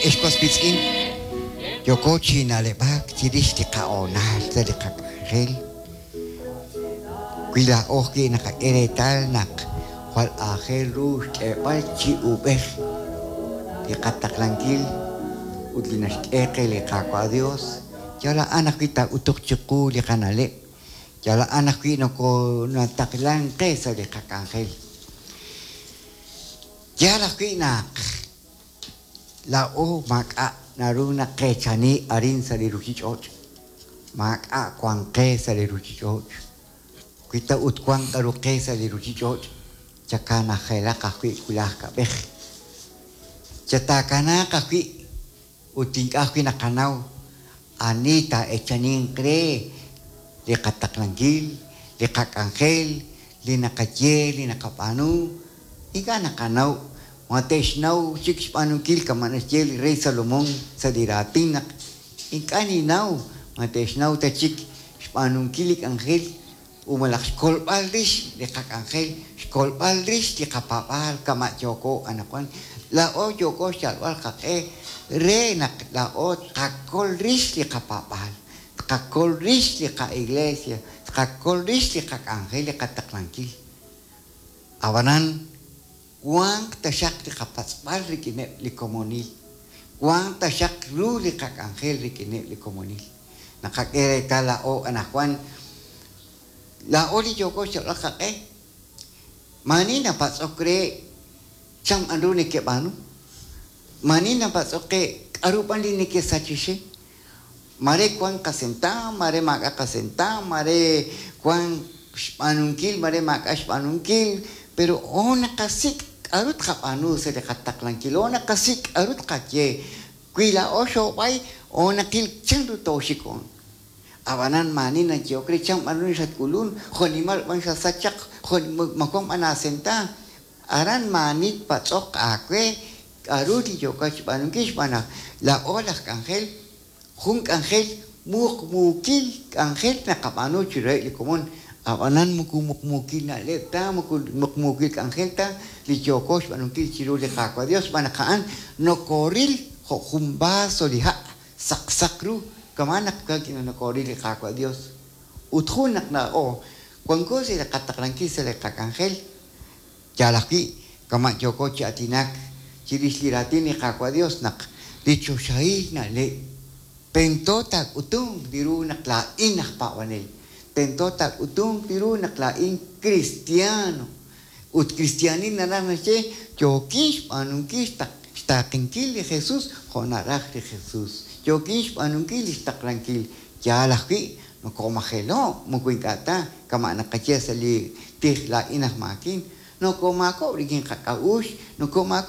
Ex was wiitz'in, yooko chi na'leb'ak chirix li qahoonal sa' li qak'anjel. Wi laa'o ajwi' naqak'e reetal naq jwal aajel ru xk'eeb'al chi uub'ej li qataqlankil ut li naxk'e qe li Qaawa' Dios, yal a'an ajwi' taak'utuq chiqu li qana'leb', yal a'an ajwi' nokonataqlank qe sa' li qak'anjel. Yaal ajwi' naq laa'o maak'a' naru naqeechani arin sa' li ruchich'och', maak'a' wan qe sa' li ruchich'och'. Wi ta ut wan k'a'ru qe sa' li ruchich'och', chakanajelaq ajwi' wulaj kab'ej. Chataakanaaq ajwi' ut ink'a' ajwi' naqanaw ani taa'eechaninq re li qataqlankil, li qak'anjel, li naqaye, li naqab'aanu. Ink'a' naqanaw ma te'xnaw chik xb'aanunkil kama' naxye li rey Salomón sa' li raatin naq ink'a' ninnaw ma te'xnaw ta chik xb'aanunkil li k'anjel ut malaj xkolb'al rix li qak'anjel, xkolb'al rix li qapaab'aal kama' yooko anaqwan. Laa'o yooko xyalb'al qaq'e re naq laa'o tqakol rix li qapaab'aal, tqakol rix li qa'iglesia, tqakol rix li qak'anjel, li qataqlankil. Ab'anan, wanq taxaq li qapatz'b'al rik'ineb' li komonil, wanq taxaq ru li qak'anjel rik'ineb' li komonil. Naqak'e reetal laa'o anaqwan, laa'o li yooko xyalb'al qaq'e, maani napatz'ok re chan b'an ru nekeb'aanu, maani napatz'ok qe k'a'ru b'an li nekesachixi. Mare wank qasentaam, mare maak'a' qasentaam, mare wank xb'aanunkil, mare maak'a' xb'aanunkil, pero o naqasik' k'a'ru tqab'aanu sa' li qataqlankil, o naqasik' k'a'ru tqaye. Wi laa'o xoob'ay, o naqil chanru tooxik on. Ab'anan maani nayehok re chan b'an ru xatk'ulun, jo'nimal b'an xasach chaq, jo' ma wank b'an aasentaam. Aran maani tpatz'oq aawe k'a'ru li yookat xb'aanunkil xb'aan naq laa'o laj k'anjel, jun k'anjel muqmuukil k'anjel naqab'aanu chiruheb' li komon, ab'anan moko muqmuukil na'leb' ta, moko muqmuukil k'anjel ta li yooko xb'aanunkil chiru li Qaawa' Dios xb'aan naq a'an nokooril jo' jun vaso li ha' saqsaq ru, kama'an naq nokooril li Qaawa' Dios. Ut jun naq laa'o wanko sa' li qataqlankil sa' li qak'anjel, Yaal ajwi', kama' yooko chi aatinak chirix li raatin li Qaawa' Dios naq li choxahil na'leb' tento taak'utunq li ru naq laa'in aj paab'anel, tento taak'utunq li ru naq laa'in kristiano, ut kristiaanil naraj naxye yookin xb'aanunkil xtaaqenkil li Jesus jo' naraj li Jesus, yookin xb'aanunkil lix taqlankil. Yaal ajwi', nokoomajelo', moko ink'a' ta, kama' naqaye sa' li tij laa'in aj maakin, nokoomaakob'k rik'in qak'a'uxl, nokoomaakob'k.